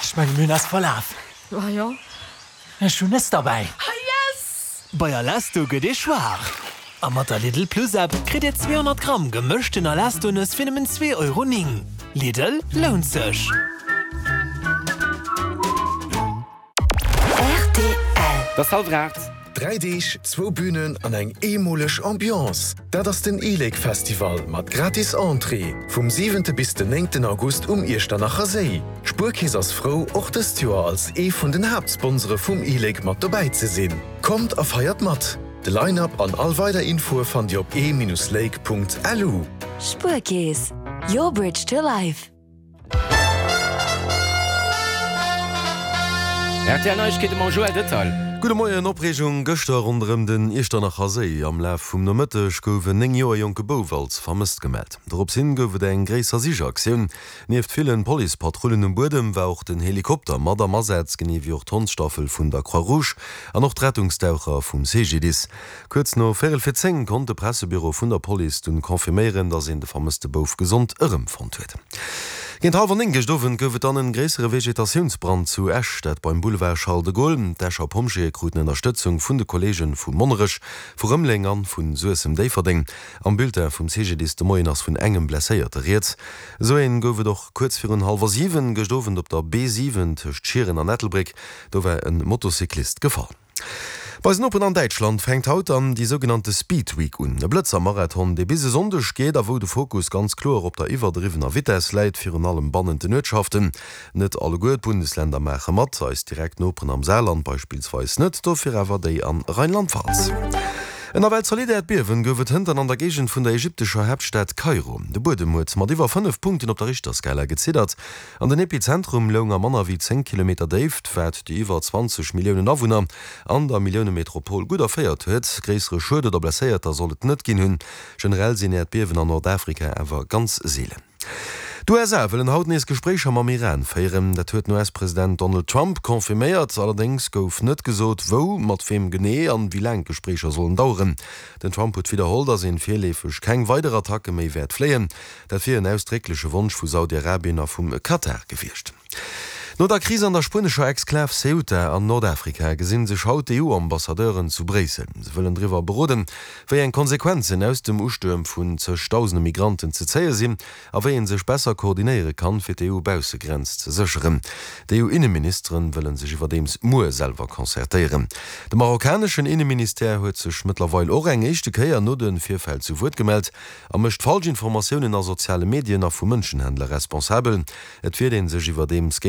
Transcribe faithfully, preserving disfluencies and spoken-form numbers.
Ech mengen, mir hunn eis verlaf. Ah jo? Ech hunn Nëss derbäi. Ah yes! Bei Alesto gëtt ee schwaach. A mat der Lidl Plus App kritt Dir zweehonnert Gramm gemëschten Alesto-Nëss fir nëmmen zwee Euro néng. Lidl, lount sech! Rtl. Et ass hallwer aacht. Dräi Deeg, zwou Bünen an eng eemoleg Ambiance, dat ass den e-Lake Festival mat gratis Entrée vum siwente bis den néngten August um Iechternacher Séi. D'Spuerkeess ass frou, och dëst Joer als ee vun den Haaptsponsore vum e-Lake mat dobäi ze sinn. Kommt a feiert mat! De Line-Up an all weider Infoe fannt Dir op e-lake.lu. Spuerkeess, your bridge to life. Rtl Neiegkeete mam Joël Detail. Gudde Moien, Opreegung gëschter ronderëm den Iechternacher Séi. Am Laf vum Nomëtteg gouf en néng Joer jonke Bouf als vermësst gemellt. Dorops hin gouf et eng gréisser Sichaktioun. Nieft villen Policepatrullen um Buedem war och den Helikopter mat am Asaz, genee wéi och d'Hondsstaffel vun der Croix-Rouge an och d'Rettungsdaucher vum C G D I S. Kuerz no véierel vir zéng konnt de Pressebüro vun der Police dunn confirméieren, dass een de vermësste Bouf gesond erëmfonnt huet. Géint hallwer néng gëscht Owend gouf et dann en gréissere Vegetatiounsbrand zu Esch, dat beim Boulevard Charles de Gaulle. D'Escher Pompjeeë kruten Ënnerstëtzung vun de Kolleege vu Monnerech, vu Rëmeleng an vu Suessem-Déifferdeng. Am Bulletin vum C G D I S de Moien ass vun engem Blesséierte rieds. Esou een gouf et och kuerz virun hallwer siwen gëscht Owend op der B siwen tëscht Schieren an Ettelbréck. Do war e Motocyclist gefall. Bei eisen Noperen an Däitschland fänkt haut dann déi sougenannte Speed Week un. E Blëtzer-Marathon, dee bis e Sonndeg geet a wou de Fokus ganz kloer op der iwwerdriwwener Vitess läit, virun allem bannent den Uertschaften. Net alleguer d'Bundesländer maache mat, eis direkt Noperen am Saarland beispillsweis net, dofir awer déi an Rheinland-Pfalz. En nawell zolidd Äerdbiewen gouf et hënt an der Géigend vun der ägyptescher Haaptstad Kairo. De Buedem huet mat iwwer fënnef Punkten op der Richterskala geziddert an den Epizentrum loung a manner wéi zéng Kilometer Déift, wat déi iwwer zwanzeg Milliounen Awunner an der Milliounemetropol gutt erféiert huet. Gréissere Schued oder Blesséierter soll et net ginn hunn. Generell sinn Äerdbiewen an Nordafrika awer ganz seelen. D'U S A wëllen haut nees Gespréicher mam Iran féieren. Dat huet den U S-President Donald Trump confirméiert. Allerdéngs gouf net gesot, wou, mat weem genee an wéi laang d'Gespréicher sollen daueren. Den Trump huet widderholl, datt een virleefeg keng weider Attacke méi wäert fléien. Dat wier en ausdréckleche Wonsch vu Saudi-Arabien a vum Katar gewiescht. No der Kris an der spuenescher Exklav Ceuta an Nordafrika gesinn sech haut d'E U-Ambassadeuren zu Bréissel. Se wëllen driwwer beroden, wéi eng Konsequenzen aus dem Ustuerm vun zegdausende Migranten ze zéie sinn a wéi ee sech besser koordinéiere kann, fir d'E U-Baussegrenz ze sécheren. D'E U-Inneministeren wëlle sech iwwerdeems muer selwer concertéieren. De marokkaneschen Inneministère huet sech mëttlerweil och eng éischte Kéier no de Virfäll zu Wuert gemellt a mécht falsch Informatiounen a soziale Medien a vu Mënschenhändler responsabel. Et wiert ee sech iwwerdeems géint.